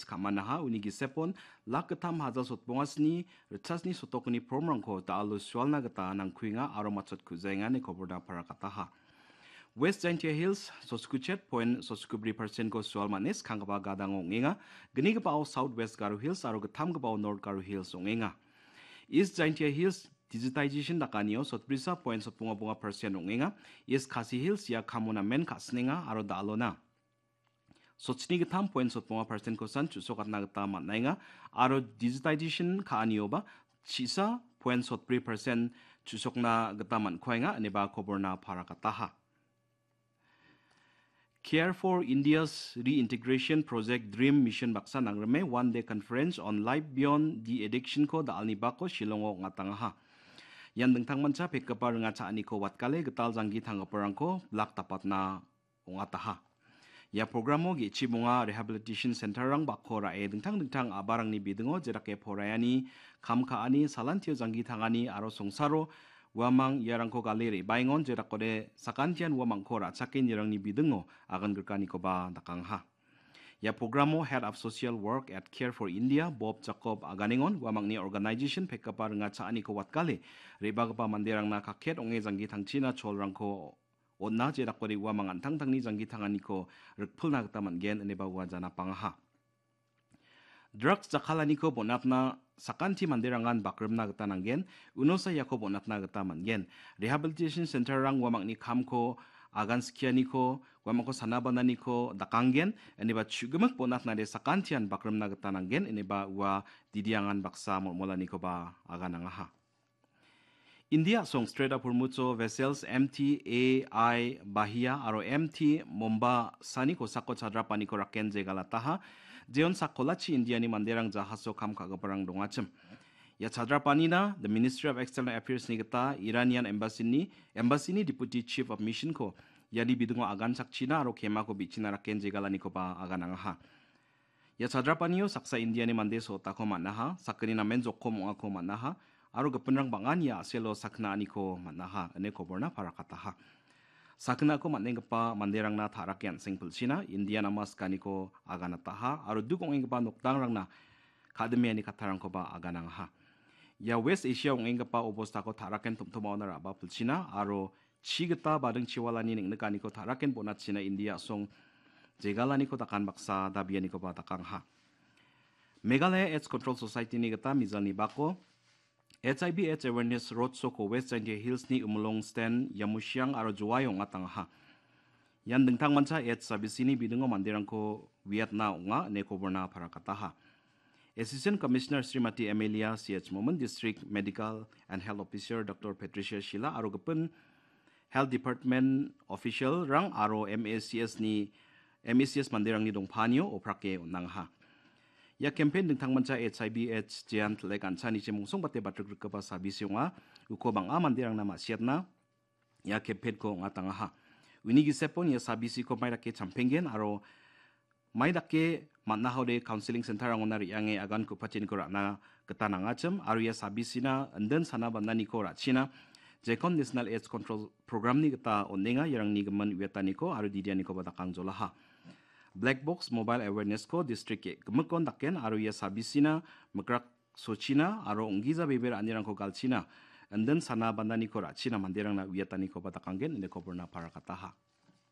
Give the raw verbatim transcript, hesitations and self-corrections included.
ka·manaha, uni gisepon lak gittam haja sotbongasni ritchasni sotokni formrangko da·alo sualna gita nangkuenga aro matchot ku·jaenga ine koborna parakataha. West Jaintia Hills sotskochet point sotskobri percent-ko sual man·e skanggipa gadango ong·enga. Gnigipao South West Garo Hills aro gittamgipao North Garo Hills ong·enga. East Jaintia Hills digitization dakanio sotbrisa point sotbonga bonga percent ong·enga. East Khasi Hills ia kamo namen ka·sinenga aro da·alona sotchini gittam point sotbonga percent-kosan chu·sokatna gita man·enga aro digitization ka·anioba chisa point sotbri percent chu·sokna gita man·kuaenga ineba koborna parakataha. Care for India's Reintegration Project Dream Mission baksa nangrime one day conference on life beyond the addiction-ko da·alni bako Shillongo ong·atangaha. Ian dingtangmancha pekgipa ringa cha·aniko watgale gital janggi tanggiparangko blak dapatna ong·ataha. Ia programo ge·chibonga rehabilitation center-rang bako ra·e dingtang dingtang a·barangni bidingo jedake poraiani, kam ka·ani, salantio janggi tangani aro songsaro uamang iarangko gale re·baengon jedakode sakantian uamangko ra·chake nirangni bidingo agan grikanikoba dakangaha. Ia programo Head of Social Work at Care for India, Bob Jacob aganengon uamangni organization pekgipa ringa cha·aniko watgale re·bagipa manderangna kaket ong·e janggi tangchina cholrangko on·a jedakode uamang an·tangtangni janggi tanganiko rikpilna gita man·gen ineba ua janapangaha. Drugs jakkalaniko bonatna sakanti manderangan bakrimna gita nanggen, unosa iako bonatna gita man·gen. Rehabilitation center-rang uamangni kamko agan skianiko, uamangko sana bananiko dakanggen, ineba chu·gimik bonatnade sakantian bakrimna gita nanggen, ineba ua didiangan baksa molmolanikoba aganangaha. India a·song Strait of Hormuz-o vessels M T A I Bahia aro M T Mombasani kosako chadrapaniko raken jegalataha. Jeon sakkolachi Indiani manderang jahaso kam ka·giparang dongachim. Ia chadrapanina The Ministry of External Affairs-ni gita Iranian Embassy-ni, Embassy-ni Deputy Chief of Mission-ko iani bidingo agan chakchina aro kemako bi·china raken jegalanikoba aganangaha. Ia chadrapanio saksa Indiani mande sotako man·aha, sakgni namen jokom ong·ako man·aha, aro gipinrang bang·an ia a·selo sakgna aniko man·aha, ine koborna parakataha. Sakgnako man·enggipa manderangna ta·rake an·seng pilchina Indian ama sikaniko aganataha, aro duk ong·enggipa nokdangrangna ka·dimiani kattarangkoba aganangaha. Ia West Asia ong·enggipa obostako ta·raken tom·tomaona ra·ba pilchina, aro chi gita bading chiwalani neng·nikaniko ta·raken bonatchina India a·song jegalaniko dakan baksa dabianikoba dakangaha. Meghalaya AIDS Control Society-ni gita mijalni bako H I V AIDS Awareness Road Show-ko West Jaintia Hills-ni Ummulong Sten, Yamusiang aro Jowai ong·atangaha. Ian dingtangmancha AIDS sabisini bidingo manderangko uiatna ong·a ine koborna parakataha. Assistant Commissioner Srimati Amelia C H Momin, District Medical and Health Officer Doctor Patricia Shila aro gipin Health Department official-rang aro M A C S-ni, M A C S manderangni dongpanio oprake on·angaha. Ia campaign dingtangmancha H I V AIDS jean tilek an·chanichi mongsongbate batrikrikgipa sabisi ong·a. Uko bang·a manderangna ma·siatna ia campaign-ko ong·atangaha. Uni gisepon ia sabisiko mai dake champenggen aro mai dake man·ahode counselling center-rangona re·ange agan ku·pacheniko ra·na gita nangachim aro ia sabisina indin sana bananiko ra·china Jekon National AIDS Control Program-ni gita on·enga, iarangni gimin uiataniko aro didianikoba dakangjolaha. Black Box Mobile Awareness-ko district ge·gimikon daken aro ia sabisina mikrak sochina aro ong·gija bebe ra·anirangko galchina, indin sana bananiko ra·china manderangna uiatanikoba dakanggen ine koborna parakataha.